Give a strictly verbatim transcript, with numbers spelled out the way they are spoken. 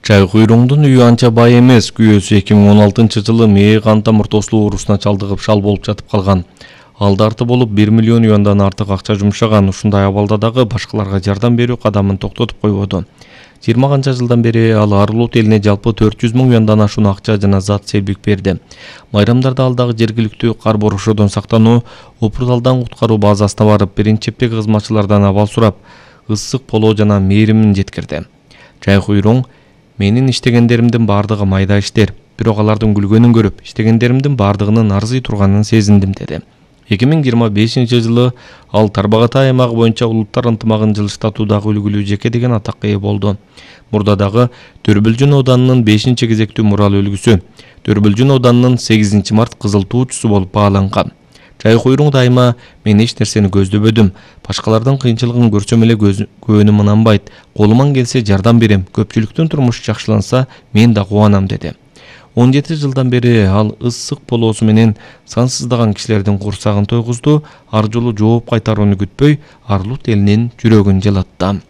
Чай куйруңдун үйү анча бай эмес. Күйөөсү эки миң он алтынчы жылы мээ кан тамыр-тоосулуу оорусуна чалдыгып шал болуп жатып калган. Ал дарты болуп бир миллион юандан артык акча жумшаган. Ушундай абалда дагы башкаларга жардам берүү кадамын токтотуп койбоду. жыйырма канча жылдан бери ал Арлут элине жалпы төрт жүз миң юандан ашуун акча жана зат себик берди. Майрамдарда ал дагы жергиликтүү кар борошодон сактануу, Опурталдан куткаруу базасына барып, биринчи чептеги кызматчылардан абал сурап, ысык полоо жана мээримин жеткирди. Чай куйруң: менин иштегендеримдин бардыгы майда иштер, бирок алардын күлгөнүн көрүп, иштегендеримдин бардыгынын арзый турганын сезиндим деди. эки миң жыйырма бешинчи жылы ал Тарбағатай аймагы боюнча улуттар ынтымагын жылыштатуудагы үлгүлүү жеке деген атакка ээ болду. Мурда дагы Төрбүлжүн ауданынын бешинчи кезектүү мурал үлгүсү, Төрбүлжүн ауданынын сегизинчи март кызыл туучусу болуп бааланган. Чай куйруң дайыма: мен эч нерсени көздөбөдүм. Башкалардын кыйынчылыгын көрсөм эле көөнүм ынанбайт. Колуман келсе жардам берем. Көпчүлүктүн турмушу жакшыланса, мен да кубанам деди. он жети жылдан бери ал ысык полоосу менен сансыздаган кишилердин курсагын тойгузду. Ар жолу жооп кайтарууну күтпөй, Арлут элинин жүрөгүн жылытты.